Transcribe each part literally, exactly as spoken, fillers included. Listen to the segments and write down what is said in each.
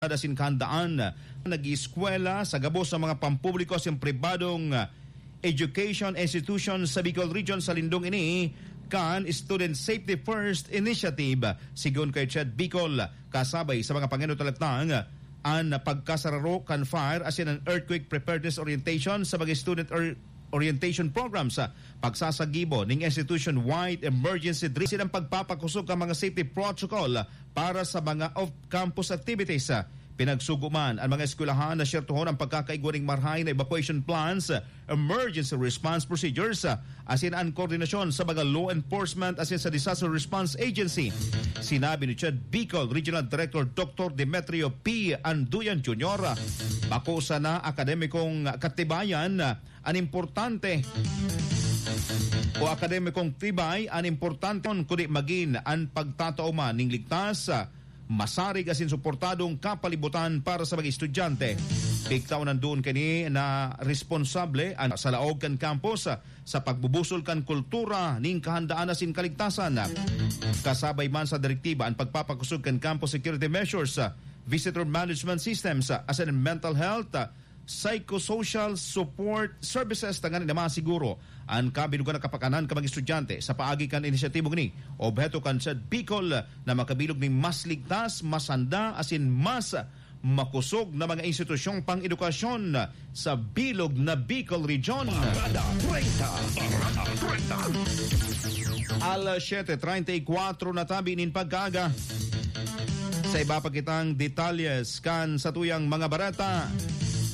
asin kahandaan nag-ieskwela sa gabos sa mga pampubliko asin pribadong education institution sa Bicol Region sa lindong ini kan Student Safety First Initiative. Sigon kay Chad Bicol, kasabay sa mga pangenot na laktang, an pagkasararo kan fire asin an earthquake preparedness orientation sa mga student or orientation programs, pagsasagibo ning institution-wide emergency drill, asin ang pagpapakosog kan mga safety protocol para sa mga off-campus activities. Pinagsugo man ang mga eskwelahan na siyertohon ang pagkakaigwa ning marahay na evacuation plans, emergency response procedures, asin an koordinasyon sa mga law enforcement asin sa disaster response agency. Sinabi ni Chad Bicol Regional Director Doctor Demetrio P. Anduyan Junior, bako sana akademikong katibayan an importante o akademikong tibay an importante, kundi magin an pagtatao man ning ligtas, masarig asin suportadong kapalibutan para sa mga estudyante. Pigtaw nandoon kini na responsable an sa laog kan campus sa pagbubusol kan kultura ning kahandaan asin kaligtasan. Kasabay man sa direktiba an pagpapakosog kan campus security measures, visitor management systems, asin mental health, psychosocial support services tanganing na masiguro an kabilugan na kapakanan kan mga estudyante. Sa paagi kan inisyatibong ini, obheto kan Chad Bicol na makabilog nin mas ligtas, mas handa, asin mas makosog na mga institusyong pang-edukasyon sa bilog na Bicol Region. Parada treinta. Parada treinta. Alas siyete treinta y cuatro na tabi nin pagkaaga. Sa iba pa kitang detalyes kan satuyang mga bareta,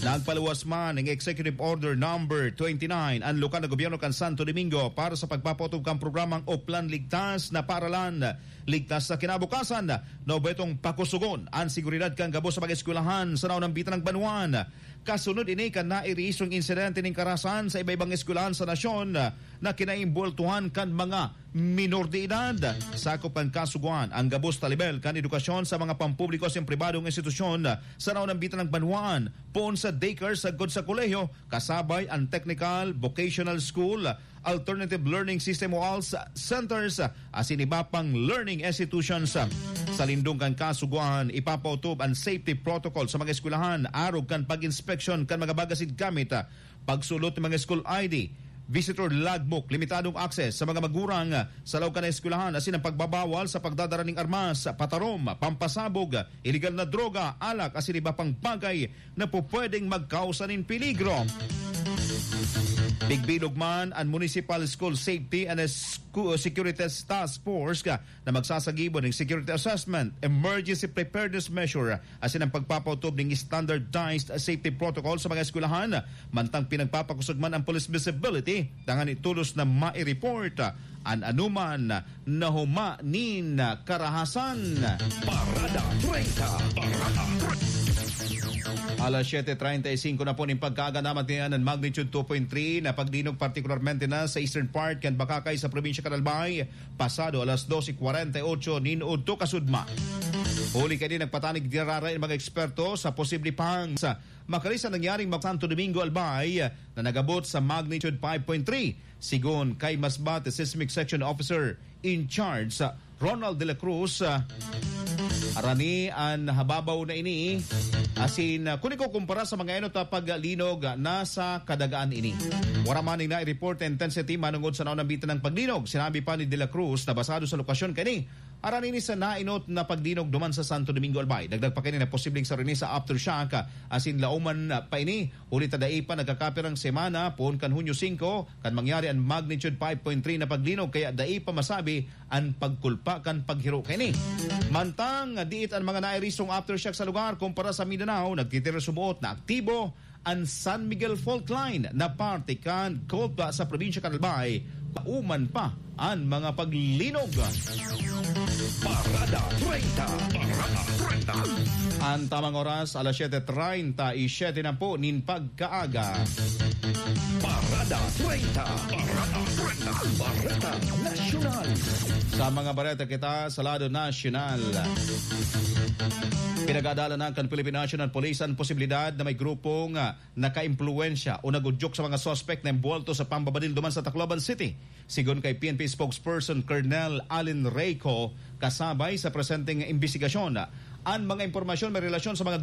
nagpaluwas man ning Executive Order Number twenty-nine an lokal na gobyerno kan Santo Domingo para sa pagpapaotob kan programang Oplan Ligtas na Paaralan, Ligtas na Kinabukasan, na obhetong pakusugon an seguridad kan gabos sa mga eskwelahan sa naunambitan ng banwaan. Kasunod ini kan nairisong insidente nin karahasan sa iba-ibang eskwelahan sa nasyon na kinaimbultuhan kan mga minor de edad. Sakop kan kasugoan ang gabos na lebel kan edukasyon sa mga pampubliko asin pribadong institusyon sa naunambitan ng banwaan, poon sa daycare sagkod sa kolehiyo, kasabay ang technical, vocational school, alternative learning system o ALS centers, asin iba pang learning institutions. Sa lindong kan kasugoan, ipapaotob an safety protocol sa mga eskwelahan, arog kan pag-inspeksyon kan mga bagasin gamit, pagsulot ng mga school I D, visitor logbook, limitadong access sa mga magurang sa laog kan eskwelahan, asin ang pagbabawal sa pagdadara ning armas, patarom, pampasabog, iligal na droga, alak, asin iba pang bagay na pupwedeng magkausa nin peligro. Bigbilog man an Municipal School Safety and Scu-, Security Task Force ka na magsasagibo ning security assessment, emergency preparedness measure, asin ang pagpapautob ning standardized safety protocol sa mga eskwelahan, mantang pinagpapakosog man ang police visibility, tanganing tolos na mai-report an anoman na huma nin karahasan. Parada treinta. Parada treinta. Alas siyete treinta y cinco na po nin pagkaaga, namatian an magnitude two point three na pagdinog, partikularmente na sa eastern part kan Bacacay sa probinsya kan Albay, pasado alas doce cuarenta y ocho nin udto kasudma. Huli kaini, nagpatanig giraray an mga eksperto sa posible pang sa makalista nangyaring mag-, Santo Domingo, Albay, na nag-abot sa magnitude five point three. Sigon kay Masbate Seismic Section Officer in Charge, Ronald de la Cruz, ah, arani an hababaw na ini, asin, ah, kun ikukumpara sa mga enot na paglinog, ah, nasa kadagaan ini. Wara man ning nai-report na intensity manongod sa naunambitan na paglinog. Sinabi pa ni de la Cruz na basado sa lokasyon kani, aran ini sa nainot na pagdinog duman sa Santo Domingo, Albay. Dagdag pa kini na posibleng saro ini sa aftershock, ah, asin lauman, ah, pa ini, huli ta dai pa nagkakapirang semana poon kan Hunyo singko kan mangyari an magnitude five point three na pagdinog, kaya dai pa masabi an pagkulpa kan paghiro kaini. Mantang diit an mga nairisong aftershock sa lugar kumpara sa Mindanao, nagtitira suboot na aktibo an San Miguel Fault Line na parte kan Colta sa probinsya kan Albay, pauman pa an mga paglinog. Parada treinta. Parada treinta. An tamang oras, alas siyete treinta y siete na po nin pagkaaga. Parada treinta. Parada treinta. Bareta Nasyonal. Sa mga bareta kita sa lado nasyonal. Pinag-aadalan na kan Philippine National Police an posibilidad na may grupong, ah, nakaimpluwensya o nag-udyok sa mga suspek na embuwelto sa pambabadil duman sa Tacloban City. Sigon kay P N P spokesperson Colonel Allen Reyco, kasabay sa presenteng imbestigasyon, an mga impormasyon may relasyon sa mga